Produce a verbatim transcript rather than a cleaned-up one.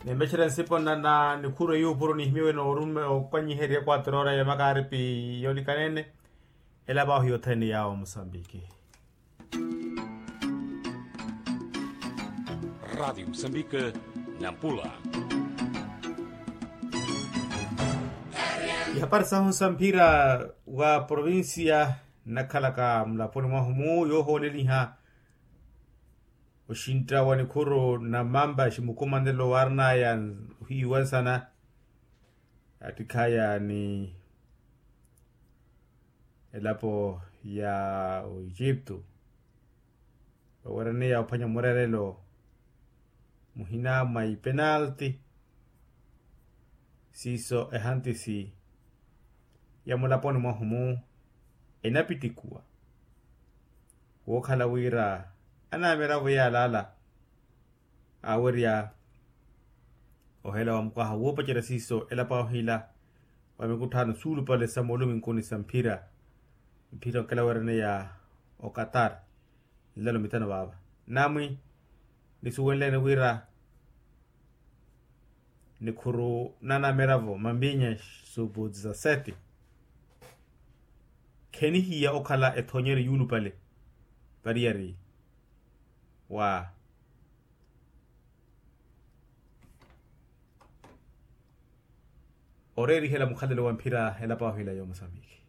Nimpexerya nsipo nnana nikhuru eyuupuru nihimiwe noorume okwanyiherya equatroora ya makaaripi yoolikanene. Elapo ahu yothene yaawo musambiki. Radiyo musambiki. Nampula. Ihapari sahu nsamphira wa provincia nnakhalaka mulaponi mwahu mu yoohooleliha oxintta wa nikhuru na mampa ximukumanelo waarinaya ohiiwa nsana attikhaya ni elapo ya oiciptu vaweraniya ophwanya murerelo muhina mwa ipenalti. Siiso ehantisi ya mulaponi mwahu mu enapittikuwa wookhala wira anamiravo yaalaala aawerya ohela wa mukwaha woopacerya siiso elapo ahu ila wa mikutthano suulupale sa mooluminkuni sa mphira mphira onkelawerene ya okatar nlelo mitano vaava namwi nisuwenlene wira nikhuru nanamiravo mambinya supu dizaseti khenihiya okhala ethonyeryo yuulupale variyari wa oreerihela mukhalelo wa mphira elapo ahu ila yoomosambiki.